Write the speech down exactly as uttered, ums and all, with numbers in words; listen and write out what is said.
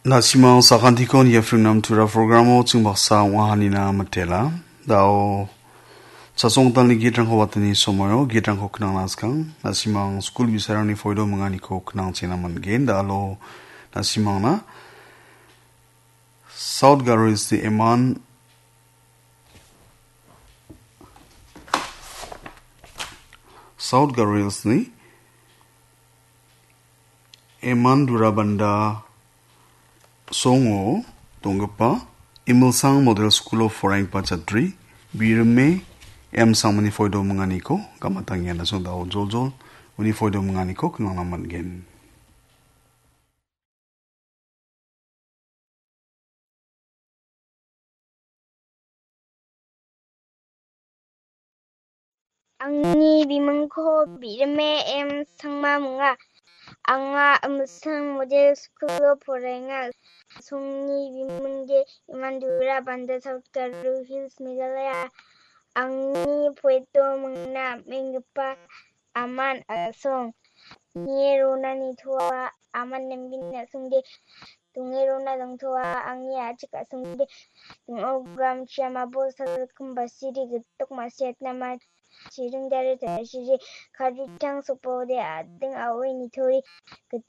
Na·simang sakantiko niapringnam tura programo ching baksa ong·ahanina mitela. Dao chasongtalni gitrangko watani somoio gitrangko knangna skang. Na·simang skul bisarangni foido minganiko knangchena man·gen. Dalo na·simangna South Garo Hills-ni Eman, South Garo Hills-ni Eman Durabanda songo donggipa Imilsang Model School of Foreign-pa chatri Birime M Sangmani foido minganiko gamatangenasong dao joljol uni foido minganiko knangna man·gen. Angni bimingko Birime M Sangma minga. Anga Imilsang Model School-o poraenga. Songni bimingde Imandura Banda, South Garo Hills, Meghalaya. Angni poeto mingna menggipa aman a·song. Nie rona nitoa aman nambin a·songde. Donge rona dongtoa angni a·chik a·songde. Ding·o gram chiamabo salkim basiri gitok masiatna ma chiring dare tasiri. Karitang sopode ading a·oi nitori gitchak